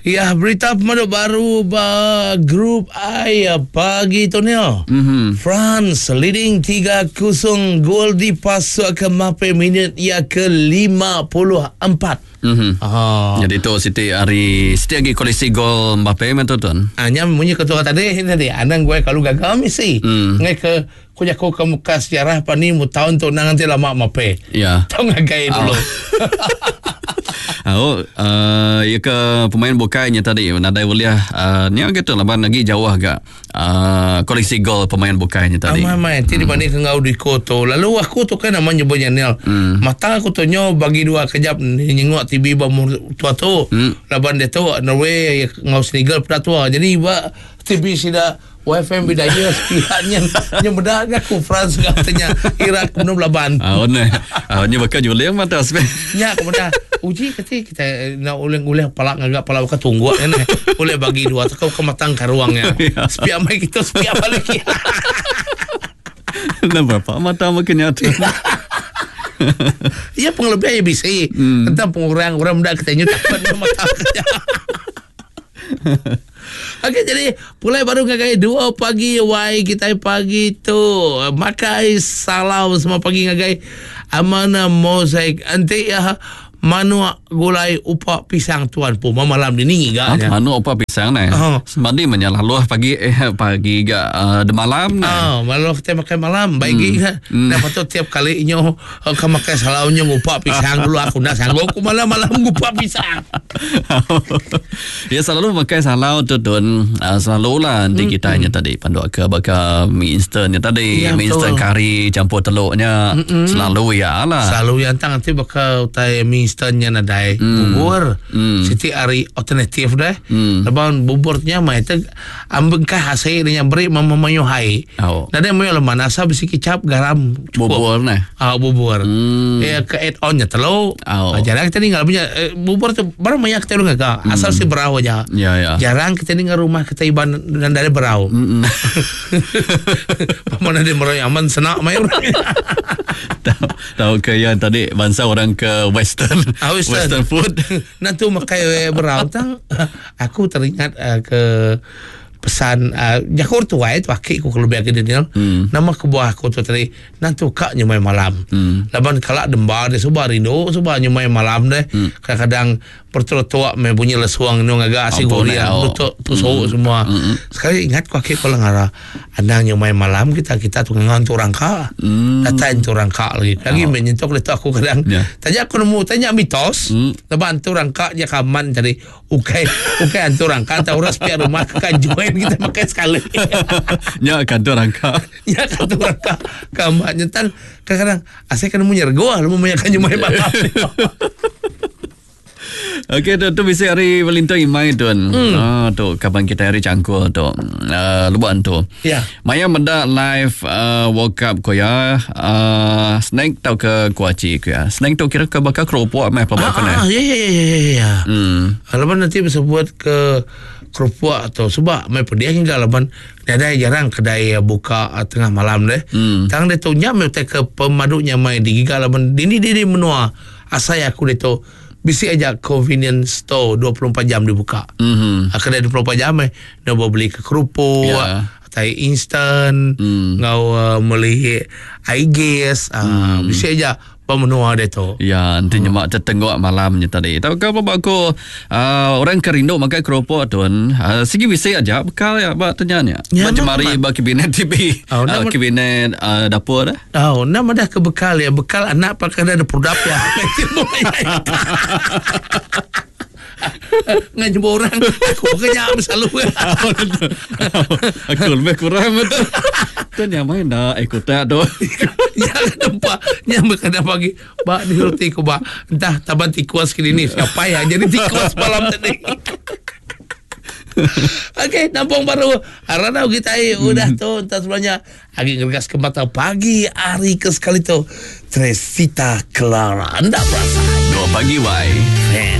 Ya, berita pemadu baru ba Group I pagi tu ni. Mm-hmm. France leading 3-0 gol dipasuk ke Mbappe minit ia ke-54. Mm-hmm. Ah. Jadi tu siti hari siti lagi koleksi gol Mbappe meh tu tuan. Ah, nya munyi ketua tadi tadi anang gue kalau gagal misi. Mm. Ngai ke ku jaku ke muka sejarah pa ni mu taun tu nang nanti lama mape. Ya. Tau ngagai dulu. Oh, uh, ya ke pemain bukai nya tadi nadai ulih uh, nya gitu laban lagi jauh agak uh, koleksi gol pemain bukai nya tadi. Amai amai ti dibanding hmm. enggau Diko tu. Lalu aku tu kan nama nyebut Janil. Hmm. Mata aku tu nyo bagi dua kejap nyengok TV ba tua tu. Hmm. Laban dia tu Norway enggau Senegal peda tua. Jadi ba TV sida YFM bidaya sepihak nya nya meda ga ku France enggau tanya Iraq benung belaban. Ah ne. Ah nya baka juling mata spe. Nya ku meda uji kati kita eh, nak ulih-ulih pala ngaga pala baka tungguk nya ne. Ulih bagi dua tau ke matang karuang nya. Sepiak mai kita sepiak balik. Nah berapa mata makin nya tu. Ya pengelebih ya bisi. Hmm. Tentang pengurang orang meda kita nya takut mata. Okey jadi pulai baru ngagai 2 pagi wai kita pagi tu makai salam semua pagi ngagai Amana Mozaik enti ya manuk gulai upa pisang tuan pu malam ni ngiga nya. Manuk upa pisang ne. Oh. Semadi menyalaluh pagi eh pagi ga uh, de malam ne. Oh, malam kita makan malam baik hmm. ga. Hmm. Dah patut tiap kali nyo Oh, ka makai salau nyo ngupak pisang dulu aku nak sanggup aku malam-malam ngupak pisang. ya selalu makai salau tu tun uh, selalu lah nanti mm, kita mm. tadi panduk ke baka mi instant nya tadi ya, mi instant kari campur telurnya mm selalu ya lah. Selalu yang tang nanti baka utai mi instant nya nadai mm. bubur. Mm. Siti hari alternatif deh. Mm. Lepas bubur nya mai te ambengkah hasil nya beri mama mayu hai. Oh. Nadai mayuh leman asal bisi kicap garam cukup. Bubur neh. Ah bubur. Hmm. Eh ke add on nya telu. Oh. Ah, jarang kita ninggal punya eh, bubur tu baru banyak kita lu ngaga. Hmm. Asal si berau aja. Ya ya. Jarang kita ninggal rumah kita iban dan dari berau. Hmm. Mana dia merau aman senak mai orang. Tahu tahu ke yang tadi bangsa orang ke western ah, western. western food. Nanti makai berau tang aku teringat uh, ke pesan uh, jaku orang tuai tu aki ku kelebih agi Daniel hmm. nama kebuah aku tu tadi nanti ka nyumai malam hmm. laban kala demba dia suba rindu suba nyumai malam deh hmm. kadang-kadang bertuak me bunyi lesuang nu ngaga asi goreng tutuk tusuk hmm. semua hmm. sekali ingat ku aki ku lengara anang nyumai malam kita kita tu ngan tu rangka hmm. datai tu rangka lagi lagi oh. menyentuh letak aku kadang yeah. tanya aku nemu tanya mitos hmm. laban tu rangka dia kaman tadi Ukai ukai antu rangka tau orang sepiak rumah ke kan join kita makai sekali. Nya kan tu rangka. Nya kan tu rangka. Kamak nyetan kadang-kadang asal kena munyer goa lu memaya kan nyumai malam. Okey tu tu bisi hari Valentine Imai tu. Hmm. Ah tu kaban kita hari cangkul tu. Uh, luban tu. Ya. Maya meda live uh, World Cup ko ya uh, snack tau ke kuaci ko ya. Snack tu kira ke bakal keropok meh pelaba ko Ah, ya ya ya ya ya. Hmm. Laban nanti bisa buat ke keropok atau sebab mai pedih hingga laban nadai jarang kedai buka tengah malam deh. Hmm. Tang dia tu nya mai ke pemadu nya mai digiga laban dini dini menua asai aku dia tu bisi aja convenience store 24 jam dibuka. Mm-hmm. Kedai 24 jam eh dia beli ke kerupuk, yeah. tai instant, mm. ngau uh, beli air gas, uh, mm. bisi aja pemenua dia tu. Ya, nanti hmm. nyemak tetengguk malamnya tadi. Tahu ke apa aku uh, orang ke rindu makan keropok tu uh, sigi bisi aja bekal ya ba tanya nya. Ya, ba jemari ba kabinet TV, Oh, uh, nama- kabinet uh, dapur dah. Oh, nama dah ke bekal ya, bekal anak pakai dah ada produk ya. Ngan jumpa orang aku kenyang selalu. Aku lebih kurang betul. Tu nyaman dah ikut tak tu. Ya nampak Yang berkadang pagi Bak ni roti ku bak Entah taban tikus kini ni Siapa yang jadi tikus malam tadi Okey, nampung baru. Aranau kita eh, udah tu entah sebelumnya. Agi ngeregas ke mata pagi hari ke sekali tu. Tresita Clara. Anda berasa. Dua pagi wai.